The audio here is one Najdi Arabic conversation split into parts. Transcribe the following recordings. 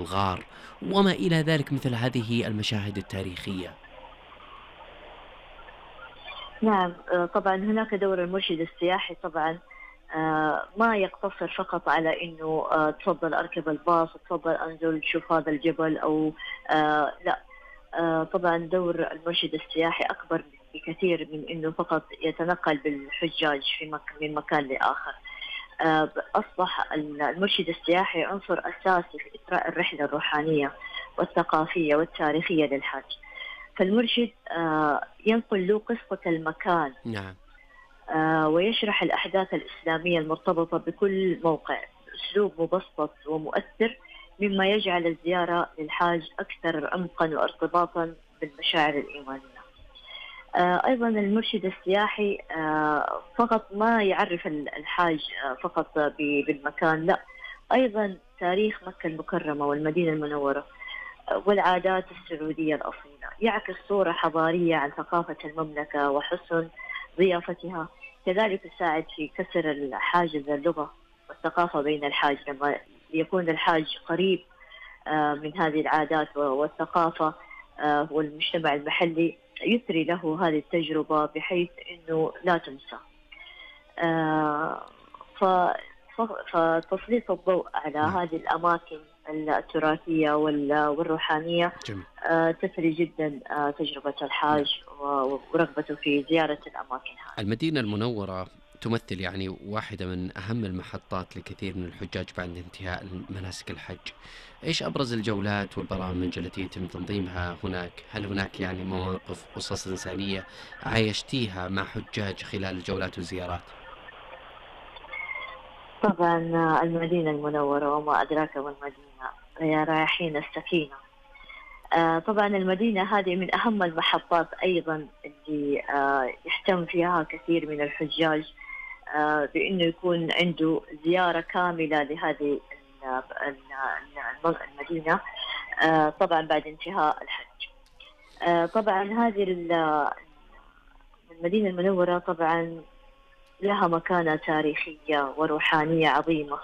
الغار وما إلى ذلك مثل هذه المشاهد التاريخية. نعم، طبعا هناك دور المرشد السياحي طبعا. ما يقتصر فقط على انه تفضل اركب الباص، تفضل انزل شوف هذا الجبل او لا. طبعا دور المرشد السياحي اكبر بكثير من انه فقط يتنقل بالحجاج من مكان لاخر. اصبح المرشد السياحي عنصر اساسي في اثراء الرحله الروحانيه والثقافيه والتاريخيه للحاج. فالمرشد ينقل له قصة المكان. نعم. ويشرح الأحداث الإسلامية المرتبطة بكل موقع بأسلوب مبسط ومؤثر، مما يجعل الزيارة للحاج أكثر عمقا وارتباطا بالمشاعر الإيمانية. أيضا المرشد السياحي فقط ما يعرف الحاج فقط بالمكان، لا، أيضا تاريخ مكة المكرمة والمدينة المنورة والعادات السعودية الأصيلة، يعكس صورة حضارية عن ثقافة المملكة وحسن ضيافتها. كذلك يساعد في كسر حاجز اللغة والثقافة بين الحاج، لما يكون الحاج قريب من هذه العادات والثقافة والمجتمع المحلي، يثري له هذه التجربة بحيث أنه لا تنسى. فتسليط الضوء على هذه الأماكن التراثية والروحانية تثري جدا تجربة الحاج ورغبته في زيارة الأماكن هذه. المدينة المنورة تمثل يعني واحدة من أهم المحطات لكثير من الحجاج بعد انتهاء مناسك الحج. إيش أبرز الجولات والبرامج التي يتم تنظيمها هناك؟ هل هناك يعني مواقف قصص إنسانية عايشتيها مع حجاج خلال الجولات والزيارات؟ طبعا المدينة المنورة وما أدراك ما المدينة، هي رايحين السكينة. طبعا المدينة هذه من أهم المحطات أيضا اللي يهتم فيها كثير من الحجاج بأنه يكون عنده زيارة كاملة لهذه المدينة طبعا بعد انتهاء الحج. طبعا هذه المدينة المنورة طبعا لها مكانة تاريخية وروحانية عظيمة،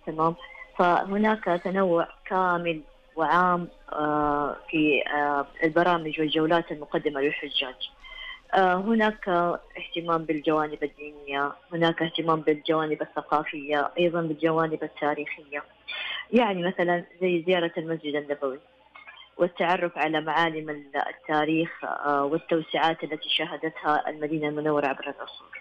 تمام. فهناك تنوع كامل وعام في البرامج والجولات المقدمة للحجاج. هناك اهتمام بالجوانب الدينية، هناك اهتمام بالجوانب الثقافية، أيضا بالجوانب التاريخية، يعني مثلا زي زيارة المسجد النبوي والتعرف على معالم التاريخ والتوسعات التي شهدتها المدينة المنورة عبر العصور.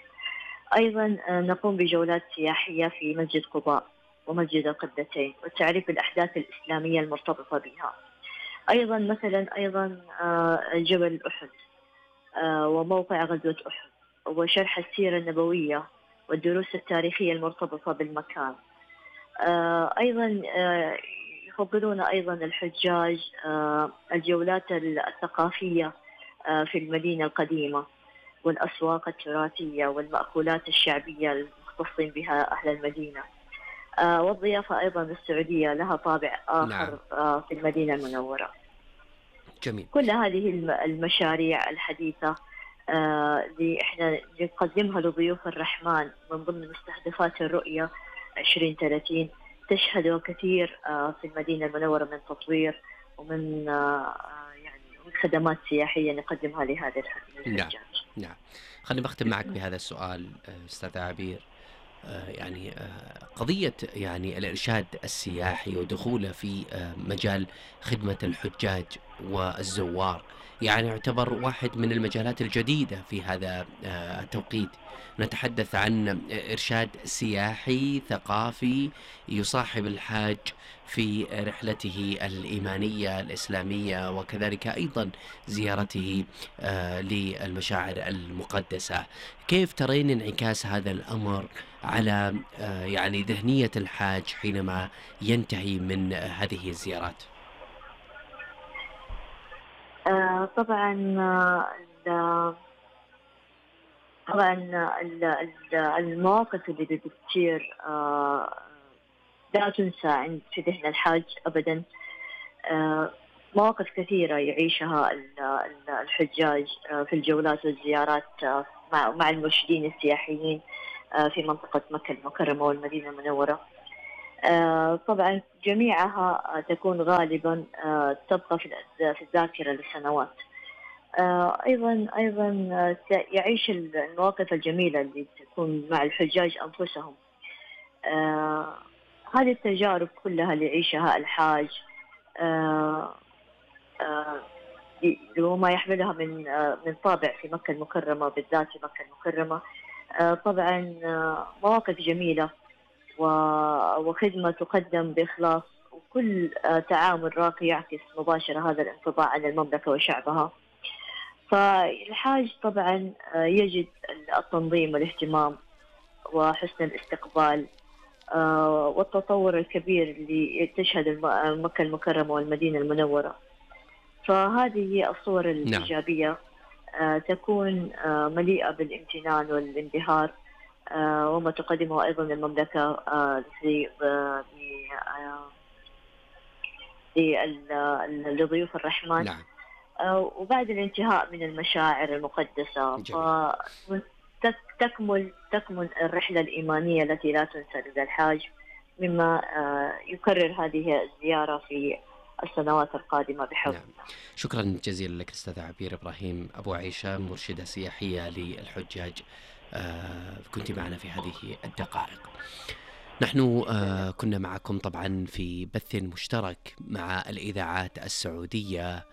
أيضا نقوم بجولات سياحية في مسجد قباء ومسجد القبلتين والتعريف بالأحداث الإسلامية المرتبطة بها. أيضا مثلا جبل أحد وموقع غزوة أحد وشرح السيرة النبوية والدروس التاريخية المرتبطة بالمكان. أيضا يفضلون أيضا الحجاج الجولات الثقافية في المدينة القديمة والأسواق التراثية والمأكولات الشعبية المختصين بها أهل المدينة. والضيافة أيضا السعودية لها طابع آخر في المدينة المنورة. جميل. كل هذه المشاريع الحديثة اللي إحنا نقدمها لضيوف الرحمن من ضمن مستهدفات الرؤية 2030 تشهد كثير في المدينة المنورة من تطوير ومن يعني خدمات سياحية نقدمها لهذا الحجاج. نعم. خليني بختم معك بهذا السؤال أستاذ عبير. يعني قضية يعني الإرشاد السياحي ودخوله في مجال خدمة الحجاج والزوار يعني يعتبر واحد من المجالات الجديدة في هذا التوقيت. نتحدث عن إرشاد سياحي ثقافي يصاحب الحاج في رحلته الإيمانية الإسلامية وكذلك أيضا زيارته للمشاعر المقدسة. كيف ترين انعكاس هذا الأمر على يعني ذهنية الحاج حينما ينتهي من هذه الزيارات؟ طبعا المواقف اللي بتصير لا تنسى في ذهن الحاج أبدا. مواقف كثيرة يعيشها الحجاج في الجولات والزيارات مع المرشدين السياحيين في منطقة مكة المكرمة والمدينة المنورة. طبعا جميعها تكون غالبا تبقى في الذاكرة لسنوات. أيضا يعيش المواقف الجميلة اللي تكون مع الحجاج أنفسهم. آه، هذه التجارب كلها اللي يعيشها الحاج، آه، آه، وما يحملها من طابع في مكة المكرمة، بالذات في مكة المكرمة. طبعا مواقف جميلة وخدمة تقدم بإخلاص، وكل تعامل راقي يعكس مباشرة هذا الانطباع عن المملكة وشعبها. فالحاج طبعا يجد التنظيم والاهتمام وحسن الاستقبال والتطور الكبير اللي تشهد مكة المكرمة والمدينة المنورة. فهذه هي الصور نعم. الإيجابية، تكون مليئة بالامتنان والانبهار، وما تقدمه أيضا المملكة لضيوف الرحمن. نعم. وبعد الانتهاء من المشاعر المقدسة تكمل الرحلة الإيمانية التي لا تنسى لدى الحاج، مما يكرر هذه الزيارة في السنوات القادمة بحول الله. نعم. شكرا جزيلا لك أستاذة عبير إبراهيم أبو عيشة، مرشدة سياحية للحجاج، كنت معنا في هذه الدقائق. نحن كنا معكم طبعا في بث مشترك مع الإذاعات السعودية